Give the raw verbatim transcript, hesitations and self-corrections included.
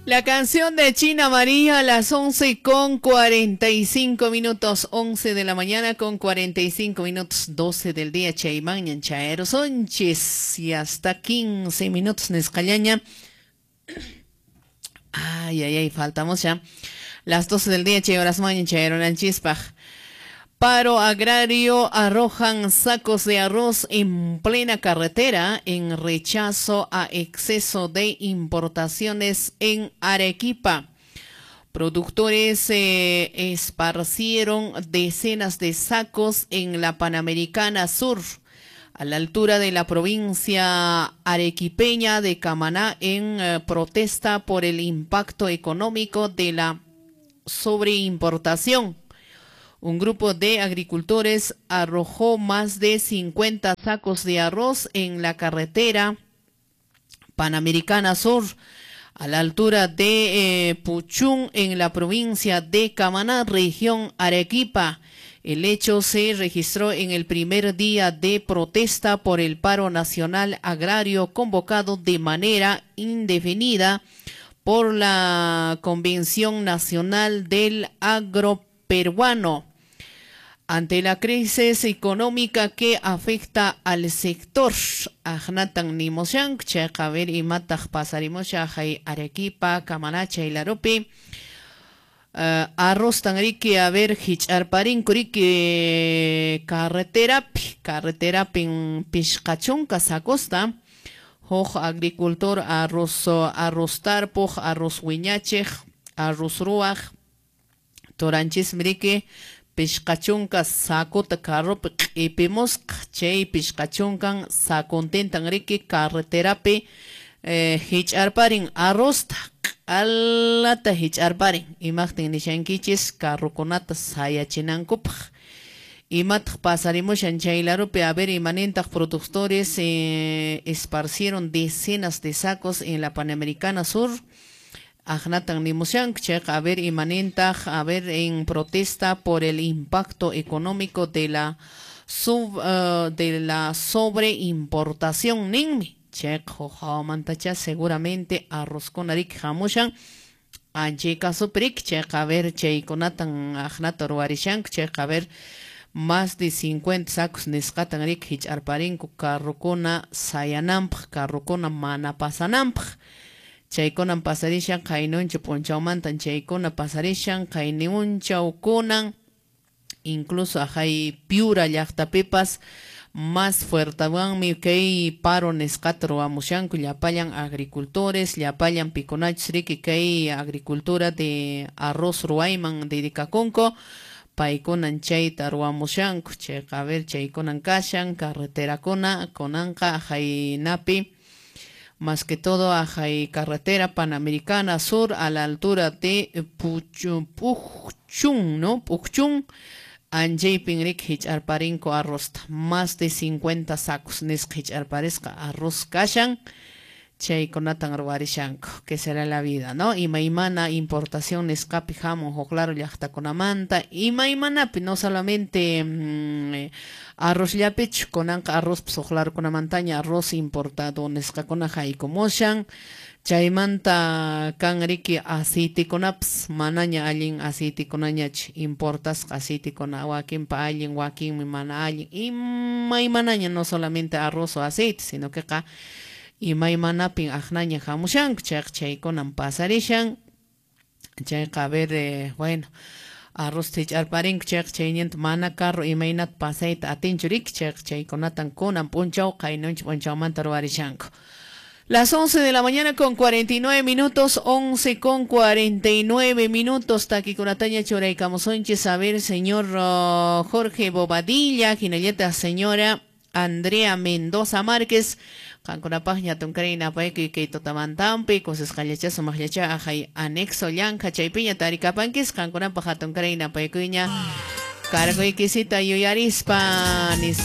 La canción de China María a las once con cuarenta y cinco minutos, once de la mañana con cuarenta y cinco minutos, doce del día, Chaymañan, Chaero Sonches, y hasta quince minutos, Nescallaña. Ay, ay, ay, faltamos ya. Las doce del día, Chayoras Mañan, Chaero Nanchispaj. Paro agrario, arrojan sacos de arroz en plena carretera en rechazo a exceso de importaciones en Arequipa. Productores eh, esparcieron decenas de sacos en la Panamericana Sur, a la altura de la provincia arequipeña de Camaná, en eh, protesta por el impacto económico de la sobreimportación. Un grupo de agricultores arrojó más de cincuenta sacos de arroz en la carretera Panamericana Sur, a la altura de eh, Puchún, en la provincia de Camaná, región Arequipa. El hecho se registró en el primer día de protesta por el paro nacional agrario convocado de manera indefinida por la Convención Nacional del Agroperuano. Ante la crisis económica que afecta al sector, Ahnatan nimoshank, chayqa imataq pasarimosha hay Arequipa, Camaná, Chaylarupi. Uh, arroz tan riki, a ver, hich'arparinku riki carreterapi, carreterapin pishqachunka sacosta, huk agricultor arroz, arroz tarpuq, arroz wiñachiq, arroz ruwaq, toranchismi riki pishqachunka sakuta carropi q'ipimusqa, chay pishqachunkan sakuntintan riki carreterapi eh, hich'arparin arrozta, q'alata hich'arparin, imaqtin nishankichis carrokunata sayachinankupaq. Imataq pasarimushan chaylarupi, a ver, imanintaq productores eh, esparcieron decenas de sacos en la Panamericana Sur. Ahnatan nimushank, chayqa, a ver, imanintaq, a ver, en protesta por el impacto económico de la sub, uh, de la sobreimportación ninmi. Chayqa hawmantacha seguramente arroz con arik hamushan anchay kasupirik, chayqa, a ver, chaykunatan ahnata ruwarishank, chayqa, a ver, más de cincuenta sacos nisqatan rik hich'arparinku carrokuna sayananpaq, carrokuna mana pasananpaq. Chaykunan pasarishan qaynuncha p'unchawmantan chaykuna pasarishan qayniunchawkunan, incluso ajay Piura llaqtapipas más fuertawanmi kay paro nisqata ruwamushanku llapallan agricultores, llapallan pikunachus riki kay agricultura de arroz ruwayman dedicakunku, paykunan chayta ruwamushanku, chayqa, a ver, chaykunan kashan carreterakuna kunanqa ajaynapi, más que todo ajay carretera Panamericana Sur a la altura de Puchun, Puchun, ¿no? Puchun, anchaypin rik hich'arparinku arrozta, más de cincuenta sacos nisqa hich'arparisqa arroz kashan, chaykunatan ruwarishanku, que será la vida, ¿no? Imaymana importación nisqapi hamun huk laro llaqtakunamanta, imaymanapi, no solamente mmm, arrozllapichu, kunanqa arrozpas huk larukunamantaña arroz importado nisqakuna haykumushan, chaymanta kan riki aceitekunapas manaña allin aceitekunañachu, importasqa aceitekuna wakinpa allin, wakinmi mana allin, imaymanaña, no solamente arroz o aceite, sino que qa imaymanapin aqnaña hamushanku, chayqa chaykunan pasarishan, chayqa, a ver, eh, bueno, arroz hich'arparinku, chayqa chayninta mana carro imaynata pasayta atinchu riki, chayqa chaykunatan kunan p'unchaw qaynuncha p'unchawmanta ruwarishanku. Las once de la mañana con cuarenta y nueve minutos, once con cuarenta y nueve minutos, takikunataña churaykamusonchis, a ver, señor uh, Jorge Bobadilla, hinallata señora Andrea Mendoza Márquez, qankunapaq ñatunkaray napaykuy kay tutamantampi, kusisqallacha sumaqllacha ajay anexo llanka chaypiña tarikapankis, qankunapaq hatunkaray napaykuyña carguykisita yuyarispa nispa.